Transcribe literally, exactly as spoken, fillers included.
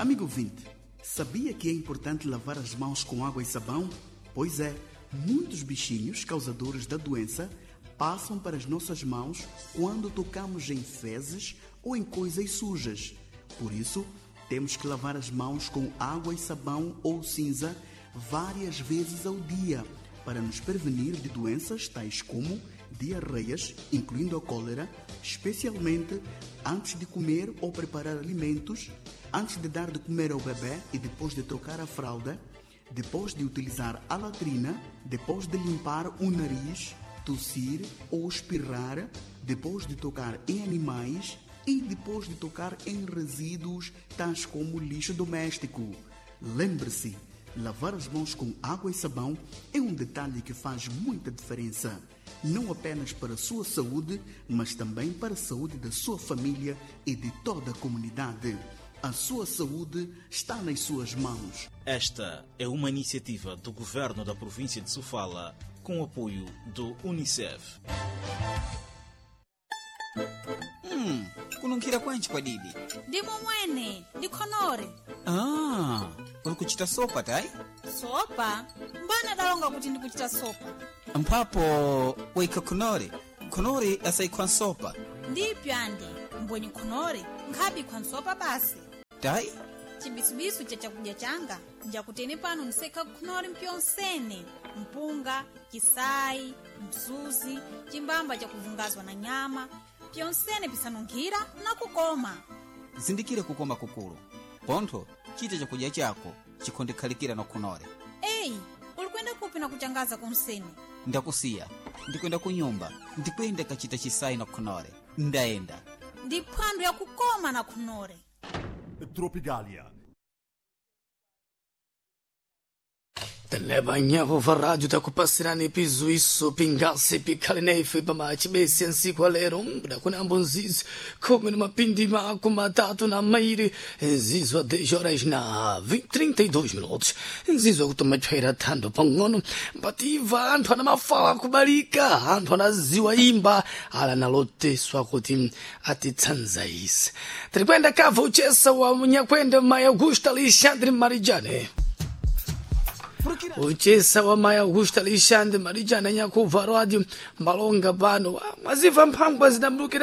Amigo ouvinte, sabia que é importante lavar as mãos com água e sabão? Pois é, muitos bichinhos causadores da doença passam para as nossas mãos quando tocamos em fezes ou em coisas sujas. Por isso, temos que lavar as mãos com água e sabão ou cinza várias vezes ao dia para nos prevenir de doenças tais como diarreias, incluindo a cólera, especialmente antes de comer ou preparar alimentos, antes de dar de comer ao bebê e depois de trocar a fralda, depois de utilizar a latrina, depois de limpar o nariz, tossir ou espirrar, depois de tocar em animais e depois de tocar em resíduos tais como lixo doméstico. Lembre-se, lavar as mãos com água e sabão é um detalhe que faz muita diferença, não apenas para a sua saúde, mas também para a saúde da sua família e de toda a comunidade. A sua saúde está nas suas mãos. Esta é uma iniciativa do governo da província de Sofala com o apoio do Unicef. Hmm, kununkhira kwanji kwadidi? Ndimo mwene, ndikhonore. Ah, uli kuchita sopa tayi? Sopa? Mbana dalonga kuti ndikuchita sopa? Mphapo waikha khonore. Khonore asayikhwa nsopa. Ndipyo andi, mbwenye khonore, nkhabikhwa nsopa basi. Tayi? Chibisubisu cha chakudya changa, njakutene pano ndisekha khonore mpyonsene, mpunga, chisayi, msuzi, chimbamba chakuvungazwa na nyama, pyonsene pisanunkhira na kukoma. Zindikire kukoma kukulu. Pontho, chita chakudya chako chikhondekhalikira na khonore. Eyi, uli kwenda kupi na kuchangaza kunsene? Ndakusiya, ndikwenda kunyumba, ndikwenda kachita chisayi na khonore. Ndayenda. Ndi phwando yakukoma na khonore. Tropigalia. Tenebanyaho rádio takupasirani pizuiso pingasi pikhale pamachibesi nsiku alero mbuda nzizi khumi na mapindi mako matatu na mairi nzizwa dez horas na trinta e dois minutos, nzizwa kutomatshwaira thando pang'ono mbativa anthu ana mafawa akubalika, anthu anaziwa imba ala naloteswa kuti atitsanzaise. Tirikwenda kava uchesa wa munyakwenda Mai Augusta Alexandre Marijane, uchesa wa Mai Augusta Alexandre Marijane nyakubva radio malonga pano mwaziva mphangwa zidamlukira.